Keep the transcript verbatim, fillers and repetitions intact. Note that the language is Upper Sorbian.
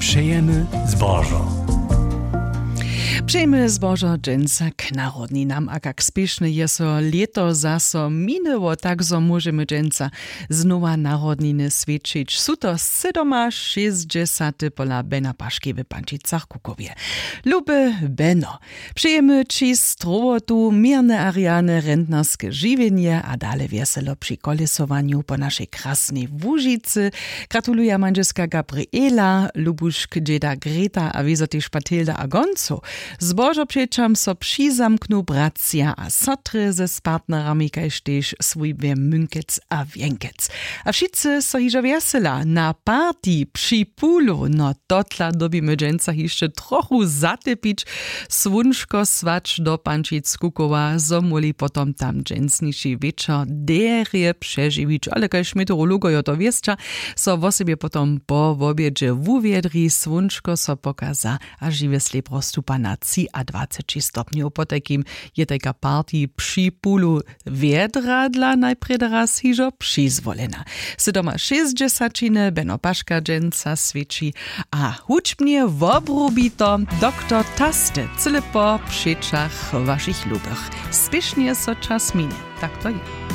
Přejemy zbožo. Přejemy zbožo dźensa k narodninam, a kak spěšnje je so lěto zaso minjeło, tak zo móžemy dźensa znowa narodniny swjećić. Su to sydomašěsćdźesaty pola Bena Paški w Pančicach Kukowje. Lube Beno, přejemy ći strowotu, měrne a rjane rentnerske žiwjenje a dale wjeselo při kolesowanju po našej krasnej Łužicy. Gratuluja mandźelska Gabriela, Lubušk, dźeda Greta a wězo tež Patilda a Gonco. Zbožo přećam so přizamknu bratřa a sotry ze z partnerami, kaž tež swójbje Mynkec a Wjenkec. A wšitcy so hižo wjesela na party při pulu. No, totla dyrbimy dźensa hišće trochu zatepić. Słónčko słać do Pančic Kukowa, zo móhli potom tam dźensniši wječor derje přežiwić. Ale kaž meteorologojo to wěsća, so wosebje potom po wobjedźe wuwjedri, słónčko so pokaza a žiwy slěpro stupa na třiadwaceći stopnjow. Potajkim je tajka party při pulu wjedra dla najprjedy raz hižo přizwolena. Sydomašěsćdźesaćiny Beno Paška dźensa swěći a hudźbnje wobrubito doktor Taste, cyle po přećach wašich lubych. Spěšnje so čas mini. Tak to je.